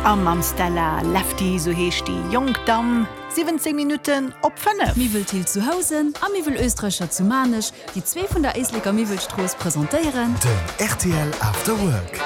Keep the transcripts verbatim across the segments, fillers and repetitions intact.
A mam Stella Lefty, sou heescht déi jonk Damm, siwwenzéng Minutten op fënnef. Miwwel Thill zu Housen a Miwwel Österreicher zu Maarnech, déi zwee vun der Éisleker Miwwelstrooss presentéieren. Den rtl After Work.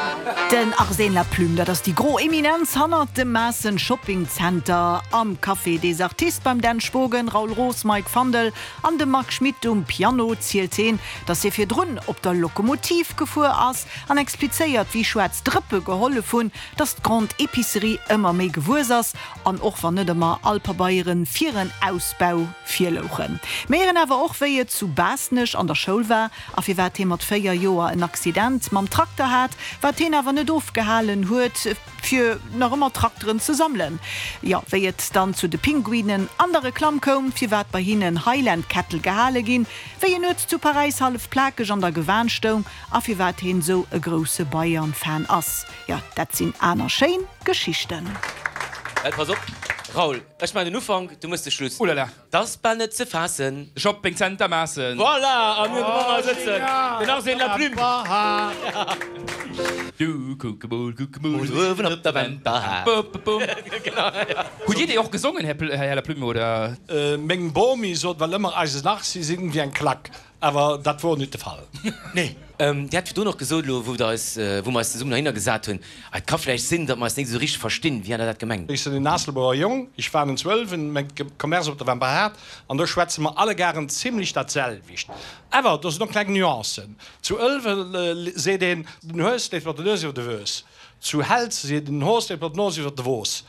Den Arsène Laplume, dat ass déi gro Eminenz hannert dem Maassen Shopping Center. Am Café des Artistes beim Dan Spogen, Raoul Roos, Mike Fandel an dem Marc Schmidt um Piano zielt hien, dass hie virdrun op der Lokomotiv gefuer ass an explizéiert, wéi schwaarz Drëppe gehollef hunn, dass d'Grande Épicerie ëmmer méi gewuess ass an och wann net ëmmer all Pabeiere fir en Ausbau virlouchen. Mir héieren awer och, wéi et zu Baaschtnech an der Schoul war a firwat hie mat véier Joer en Accident mam Trakter hat, wat hien awer net ofgehalen huet, fir nach ëmmer Trakteren ze sammelen. Jo, wéi et dann zu de Pinguinen an der Reklamm koum, firwat bei hinnen Highland Cattle gehale ginn, wéi en nuets zu Paräis hallef plakeg an der Gewan stoung a firwat hien esou e grousse Bayern-Fan ass. Jo, dat sinn aner schéin Geschichten. Well pass op, Raoul, ech maachen den Ufank, du mëss de Schluss. Oulala. 't ass bal net ze faassen. De Shopping Center Maassen. Voilà! A mir hunn de Mann hei sëtzen, den Arsène Laplume. Du kuck emol, kuck emol. Uewen op der Wemperhaart. Bum. Hutt Dir déi och gesongen, Här Laplume, oder? Meng Bomi sot well ëmmer, eisen Arsi sinn wéi eng Klack. Awer dat wor nit de Fall. Nee. Dir hat virdrun och gesot, elo wou der eis, wou mer eis zesummen heihinner gesat hunn, et ka vläicht sinn, datt mer eis net esou richteg verstinn. Wéi hat Der dat gemengt? Ech sinn en Aasselbouer Jong, ech war en Zwölwen, mäin Commerce op der Wemperhaart, an do schwätze mer allegaeren zimlech dat selwecht. Awer do sinn och kleng Nuancen. Zu Ëlwen seet een, den Hues leeft mat der Nues iwwer de Wues. Zu Helz seet een, den Hoos leeft mat der Nos iwwer de Woos.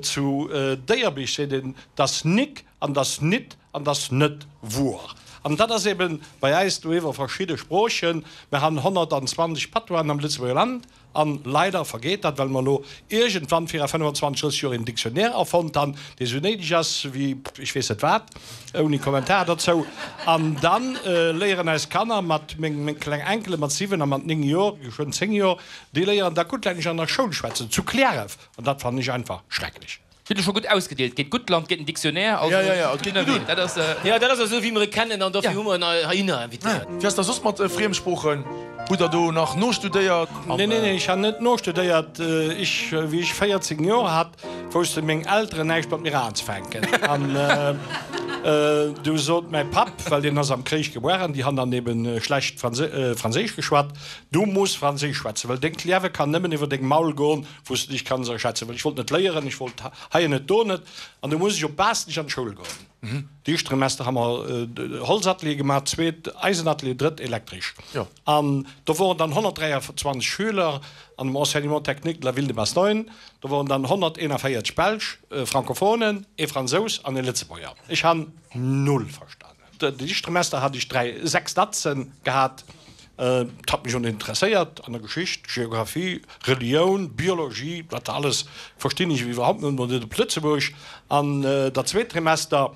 Zu Déierbich seet een, 't ass nik an 't ass nit an 't ass net wuer. An dat ass eben bei äis do iwwer verschidde Sproochen. Mer han honnertanzwanzeg Patoisen am Lëtzebuerger Land an leider vergeet dat, well mer elo iergendwann vira fënnefenzwanzeg, drësseg Joer een Dictionnaire erfonnt han, dee sou néideg ass wéi ech weess net wat, ouni Kommentar dozou. An da léieren eis Kanner mat, meng, meng kleng Enkele mat siwen a mat néng Joer, geschwënn zéng Joer, déi léieren da Guttlännesch an der Schoul schwätzen, zu Cliärref. An dat fannen ech einfach schrecklech. Hutt Der scho gutt ausgedeelt. Geet gutt Land, geet den Dictionnaire, also Ja, ja, ja, et geet gutt un. Dat ass, jo, dat ass esou wéi mer e kennen an dofir hu mer en heihinner invitéiert. Wéi ass dat soss mat Friemsproochen? Hutt Der do nach nostudéiert? Nee, nee, nee, ech han net nostudéiert. Ech, wéi ech véierzéng Joer hat, wousste meng Elteren näischt mat mir anzefänken. An du sot mäi Papp, well deen ass am Kréich gebuer an déi han dann eben schlecht Franséisch geschwat, Du muss Franséisch schwätzen, well dengt Liewe kann nëmmen iwwer deng Maul goen, wou s de dech kanns erschätzen. Well ech wollt net léieren, ech wollt hei net, do net. An du muss ech op Baaschtnech an d'Schoul goen. Déi éischt Trimester ha mer Holzatelier gemaach, zweet Eisenatelier, drëtt Elektresch. An do woren dann honnertdräianzwanzeg Schüler an dem Enseignement technique de la ville de Bastogne. Do woren dann honnerteenavéierzeg Belsch, Francophonen, ee Fransous an ee Lëtzebuerger. Ech han null verstanen. Déi éischt Trimester hat ech dräi, sechs Datzen gehat. Et hat mech och net interesséiert an der Geschicht, Geographie, Relioun, Biologie, dat alles verstinn ech iwwerhaupt net, mol net op Lëtzebuerg. An der zweet Trimester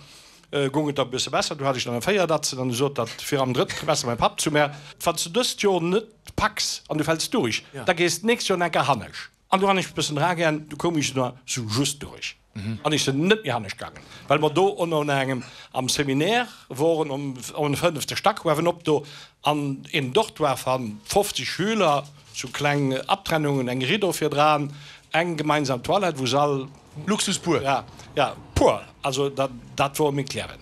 goung et da e bësse besser, do hat ech dann e véier Datzen an du sot dat fir am drëtten Trimester mäi Papp zu mär, Wann s du dëst Joer net packs an du fäls duerch, da gees d'nächst Joer enker hannesch. An du han ech bëssen dragern, du koum ech na sou just duerch. An ech sinn net méi hannescht gaangen, well mer do ënner engem am Seminaire woren, um um fënnefte Stack uewenop do, an een Dortoir van fofzeg Schüler, sou kleng Abtrennungen, eng Rideau virdran, eng gemeinsam Toilette, wou se all. Luxus pur. Ja, ja, pur. Also dat, dat wor meng Klären.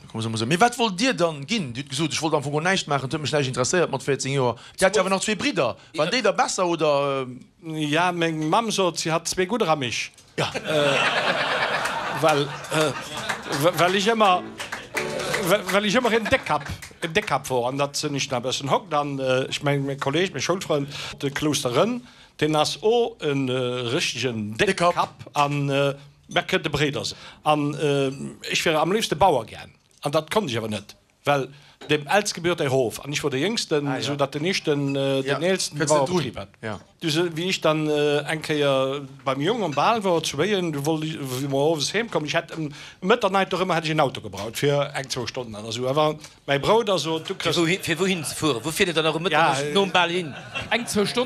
Mee wat wollt Dir dann ginn? Dir hutt gesot, ech wollt am Fong och näischt maachen, et huet mech näischt interesséiert mat véierzéng Joer. Dir hat jo awer nach zwee Bridder. Waren déi da besser oder? Ja, meng Mamm sot, si hat zwee gudder a mech. Well, well ech ëmmer, well ech ëmmer en Déckkapp, en Déckkapp wor. An dat sinn ech nach e bëssen hokt. An ech meng, mäi Kolleg, mäi Schoulfrënd, de Clouster Rënn, deen ass o e richtegen Déckkapp an mer kënnte Bréider sinn. An ech wier am léifste Bauer gär. An dat konnt ech awer net, well dem Eelste gebiert erof an ech wor de Jéngsten, esou datt den Éischten den Eelsten de Bauerbetrib hat. Du se, wéi ech dann eng Kéier beim Jong am Bal wor zu Wéien, du wollt ech, wéi mer owes heem kommen, ech hätt ëm Mëtternuecht och ëmmer hätt ech en Auto gebraucht fir eng, zwou Stonnen oder esou, awer mäi Brouder sot, du kriss. Fir wouhin ze fueren? Wou fiert et dann nach um Mëtternuecht nom Bal hin? Eng, zwou Stonnen?